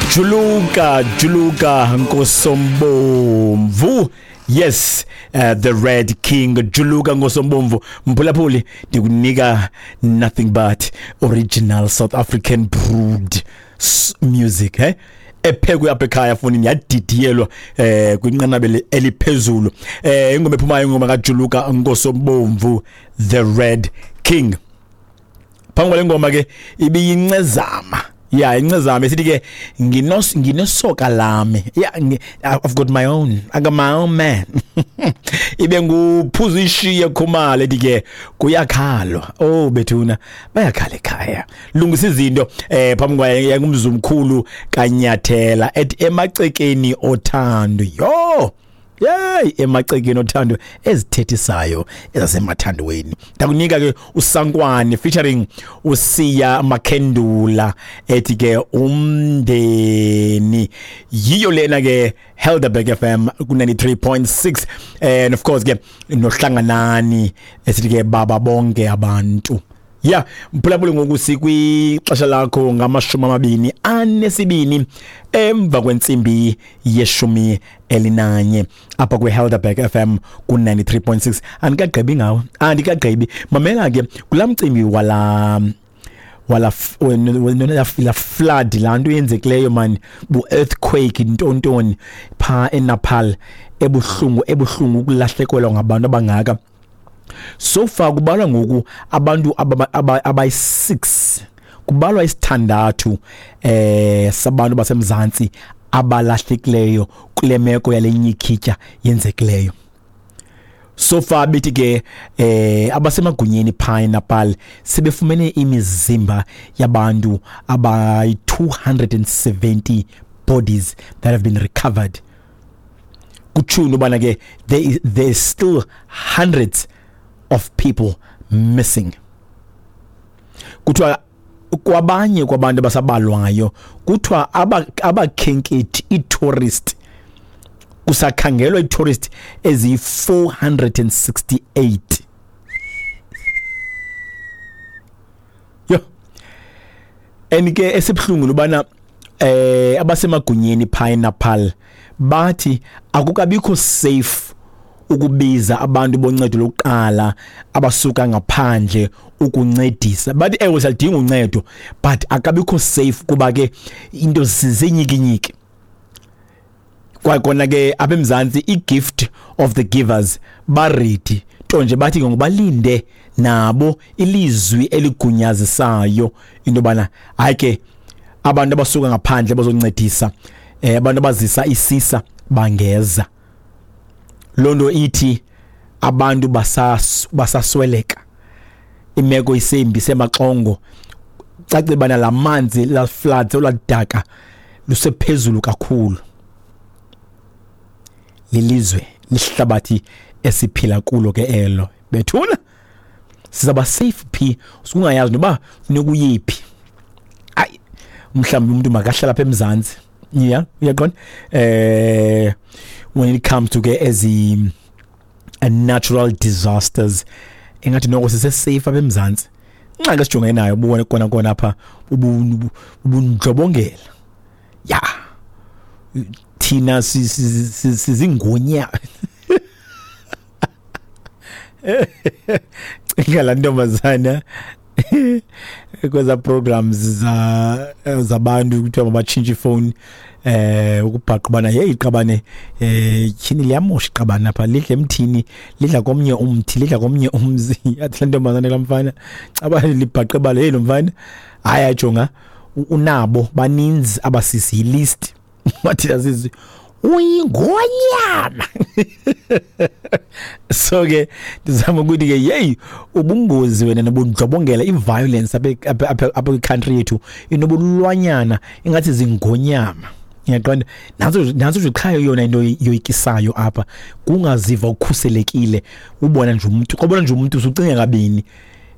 Juluka, Juluka Nkosombomvu. Yes, the Red King Juluka Nkosombomvu. Mphulaphuli, ndikunika nothing but original South African brewed music, eh? Ephekwe apha ekhaya funi yadidiyelwa kwinqanaba eliphezulu. Ingoma ephumayo, ingoma kaJuluka Nkosombomvu, the Red King. Phambi kwale ngoma ke ibiyincezama, ya, incezama esithi ke nginesoka lami, yeah, I've got my own, I got my own man. Ibe nguphuza ishiye Khumalo ethi ke kuyakhalwa. Oh bethuna, bayakhala ekhaya, lungisa izinto. Phambi kwaye ngumzumkhulu kanyathela ethi emacekeni othando. Yo yey, emacekeni othando ezithethisayo ezasemathandweni. Ndakunika ke uSankwane featuring uSiya Makhendula ethi ke umndeni. Yiyo lena ke Helderberg FM ku 93.6, and of course ke nohlanganani esithi ke baba bonke abantu. Ya, mphulaphuli, ngoku sikwixesha lakho ngama-22 emva kwentsimbi ye-11 apha kwi-Helderberg FM ku-93.6. Andikagqibi ngawo, andikagqibi. Mamela ke, kulaa mcimbi wala la flood, laa nto yenzekileyo man, bu-earthquake ntontoni phaa eNepal, ebuhlungu, ebuhlungu ukulahlekelwa ngabantu abangaka. So far kubalwa ngoku abantu abayi-6, kubalwa isithandathu sabantu basemzantsi abalahlekileyo kule meko yale nyikhitya yenzekileyo. So far bethi ke abasemagunyeni phaa eNepal sebefumene imizimba yabantu abayi 270 bodies that have been recovered. Kutsho ubana ke there is still hundreds of people missing. Kuthiwa kwabanye kwabantu abasabalwayo kuthiwa abakhenkethi, ii-tourist, kusakhangelwa ii-tourist eziyi-468. Yho, and ke esibuhlungu lubana abasemagunyeni phaa eNepal bathi akukabikho safe ukubiza abantu boncedo lokuqala abasuka ngaphandle ukuncedisa. Bathi ewe, siyalidinga uncedo, but akabikho safe kuba ke into zizinyikinyiki. Kwakona ke apha eMzantsi i-Gift of the Givers ba-ready, nto nje bathi ke ngobalinde nabo ilizwi eligunyazisayo into yobana hayi ke, abantu abasuka ngaphandle bazoncedisa, abantu abazisa isisa bangeza. Loo nto ithi abantu basasweleka, imeko isembi, semaxongo, cace bana la manzi, la floods, oladaka lusephezulu kakhulu. Lilizwe lihlabathi esiphila kulo ke elo bethuna. Sizaba safe phi usungayazi noba funeka uyephi? Ayi, mhlawumbi umuntu makahlala apha eMzantsi. Yeah, uyaqonda, when it comes to ke ezi natural disasters, engathi noko sise safe apha eMzantsi. Ingxaki esijongene nayo bubone kona kona apha ubundlobongela. Ya, thina sizingonya. Cinga laa ntombazana kweza programs za zabantu kuthiwa mabatshintshe ifowuni, ukubhaqa ubana hey, iqabane, tyhini, liyamosha iqabane apha, lidla emthini, lidla komnye umthi, lidla komnye umzi. Athi laa ntombazana laa mfana caba libhaqe balo, hey, lo mfana hayi, ajonga unabo baninzi abasisi, yi-list. Wathi asisi uyingonyama. So ke ndizama ukuthi ke yeyi, ubungozi wena nobundlobongela, i-violence apha kwi-country yethu inobulwanyana, ingathi zingonyama, uyaqonda? Nantso, nantso nje qha yona into yoyikisayo apha, kungaziva ukhuselekile. Ubona nje umuntu, xa ubona nje umuntu usucinga kabini.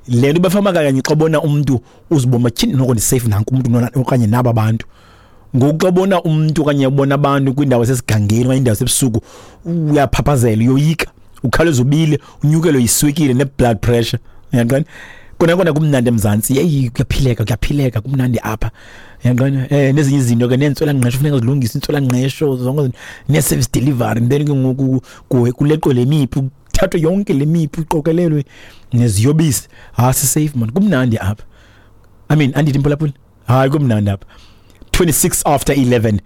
Le nto bafama kanye, xa ubona umuntu uzibona tyhini, noko ndi-safe, nanku umuntu okanye naba bantu. Ngoku xa ubona umuntu okanye ubona abantu kwindawo esesigangeni okanye indawo esebusuku, uyaphaphazela, uyoyika, ukhawuleza ubile, unyukelwe yiswekile ne-blood pressure, uyaqonda? Kona kona kumnandi eMzantsi. Yeyi, kuyaphileka, kuyaphileka, kumnandi apha. Yaqona nezinye izinto ke, nentswela ngqesho funeka zilungise, intswela ngqesho zonke, ne service delivery, then ke ngoku kuleqwe le mipu, kuthathwe yonke le mipu iqokelelwe neziyobisi. Ha, si safe man, kumnandi apha. I mean, andithi mphulaphuli, hayi, kumnandi apha. 26 after 11,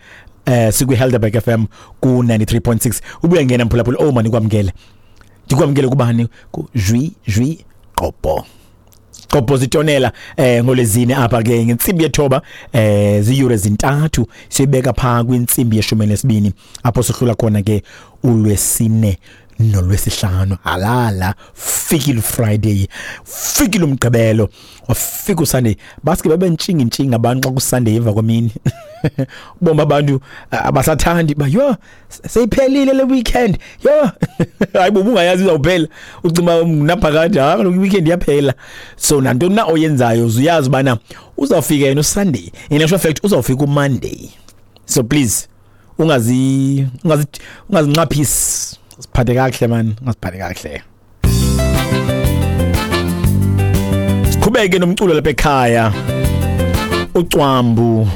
sikwi Helderberg FM ku 93.6. Ubuya ngena mphulaphuli, oh man, kwamkele, ndikwamkele kubani, ku Jwi Jwi Qopo Qopo zitonela ngolezine apha ke ngentsimbi yethoba, ziyure 3 sibeka pha kwintsimbi ye-12, apho sohlula khona ke ulwesine nolwesihlanu. Halala, fikile Friday, fikile umgqibelo, wafika uSunday. Baske babe ntshinga ntshinga abantu xa kuSunday emva kwemini, bomba abantu abasathandi ba yo, seyiphelile le weekend. Yo, hayi bo, ungayazi izawuphela, ucima naphakade. Hayi kaloku, weekend iyaphela. So nantoni na oyenzayo, uyazi bana uzawufika yena uSunday, in actual fact uzawufika uMonday. So please ungazi ungazi ungazinqaphisi, siphathe kakuhle man, ungasiphathe kakuhle. Siqhubeke nomculo lapha ekhaya, ucwambu.